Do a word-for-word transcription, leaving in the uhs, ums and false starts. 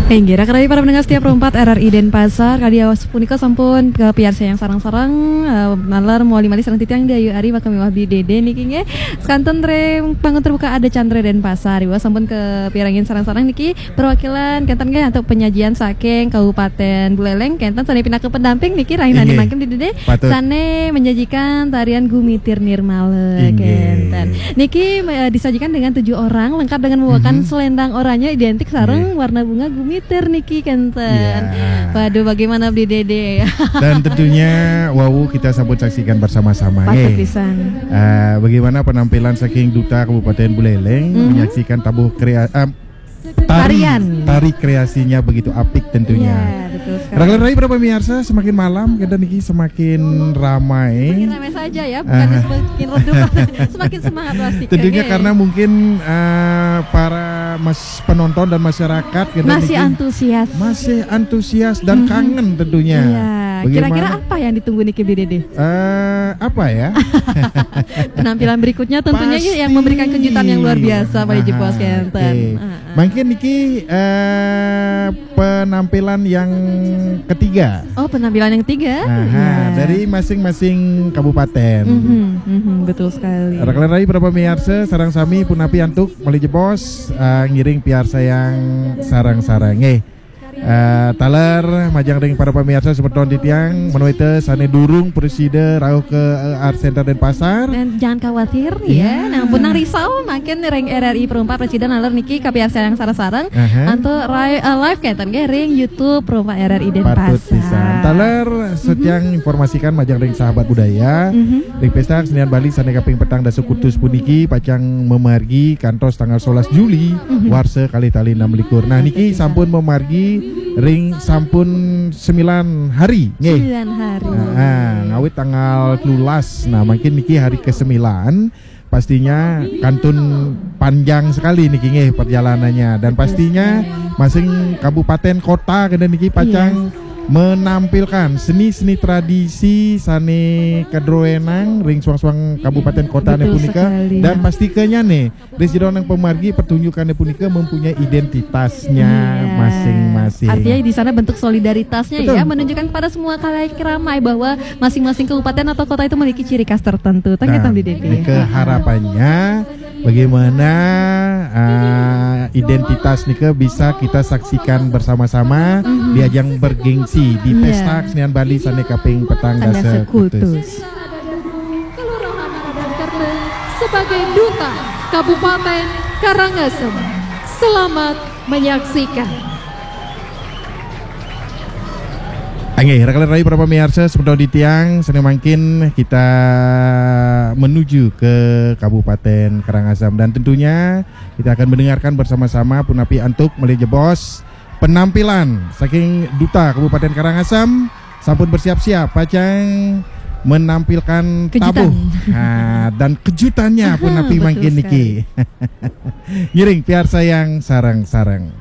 Inggih, raka rahayu para pendengar setia Pro empat R R I Denpasar, kadi awas punika sampun kapiarsayang sareng-sareng, eh, naler malih-malih sareng titiang Dayu Ari bakal miwah Bi Dede niki nggih. Sekanten ring panggung terbuka ada Chandra Denpasar, iwah sampun kapiarsayang sareng-sareng niki perwakilan kenten nggih antuk penyajian saking Kabupaten Buleleng kenten sane pinaka pendamping niki rahinane mangkin Bi Dede sane menyajikan tarian Gumitir Nirmala kenten. Niki eh, disajikan dengan tujuh orang lengkap dengan membawakan selendang oranye identik sareng warna bunga gumitir niki kenten. Waduh, bagaimana Bi Dede? Dan tentunya wau kita sampun saksikan bersama-sama. Patut pisan. Uh, bagaimana penampilan saking Duta Kabupaten Buleleng mm -hmm. menyaksikan tabuh krea uh, tari, tari kreasinya begitu apik tentunya. Ya, betul sekali. Raka rahayu para pemirsa, semakin malam kita niki semakin ramai. Semakin ramai saja ya, bukan uh. semakin redup, semakin semangat pasti. Tentunya okay. Karena mungkin uh, para mas penonton dan masyarakat kita masih niki, antusias. Masih antusias dan mm -hmm. kangen tentunya. Ya, kira-kira apa yang ditunggu niki Bi Dede? Uh, apa ya? Penampilan berikutnya tentunya pasti. Yang memberikan kejutan yang luar biasa pada Jebos kenten. Okay. Mangkin niki uh, penampilan yang ketiga. Oh, penampilan yang ketiga. Aha, ya. Dari masing-masing kabupaten. Mm -hmm, mm -hmm, betul sekali. Raka rahayu para pemirsa, sareng sami punapi antuk malih jebos uh, ngiring piarsayang sareng-sareng. Eh, Uh, taler majeng ring para pemirsa semeton titiang menawi sane durung prasida rauh ke uh, Art Center Denpasar. Dan jangan khawatir ya. ya. Nah, pun risau mangkin ring R R I Pro empat prasida naler niki kapiarsayang sareng-sareng uh -huh. Antuk uh, live kenten nggih ring YouTube Pro empat R R I Denpasar. Patut pisan. Taler setiang uh -huh. informasikan majeng ring sahabat budaya. Uh -huh. Ring Pesta Kesenian Bali sane kaping petang dasa kutus puniki pacang mamargi kantos tanggal sebelas Juli uh -huh. warsa kalih tali enam likur. Nah, niki sampun mamargi ring sampun sembilan hari nggih. Sembilan hari. Nah, ngawit tanggal telulas. Nah, mungkin niki hari kesembilan pastinya kantun panjang sekali niki nggih perjalanannya dan pastinya masing kabupaten kota kena niki pacang yes. menampilkan seni-seni tradisi sane kadroenang ring suang-suang kabupaten kota punika dan pasti kenyane Ring sira nang pamargi pertunjukane punika mempunyai identitasnya masing-masing. Artinya di sana bentuk solidaritasnya Betul. ya, menunjukkan kepada semua khalayak ramai bahwa masing-masing kabupaten atau kota itu memiliki ciri khas tertentu. Tangga nah, Bi Dede. Nika harapannya bagaimana uh, identitas nika bisa kita saksikan bersama-sama mm-hmm. di ajang bergengsi di yeah. Pesta Kesenian Bali sane kaping petang dasa kutus. Sebagai duta Kabupaten Karangasem. Selamat menyaksikan. Anggih, raka rahayu para pemirsa, semeton titiang, sane mangkin kita menuju ke Kabupaten Karangasem dan tentunya kita akan mendengarkan bersama-sama punapi antuk malih jebos penampilan saking Duta Kabupaten Karangasem sampun bersiap-siap pacang menampilkan kejutan. Tabuh nah, dan kejutannya punapi mangkin niki. Ngiring piarsayang sareng-sareng.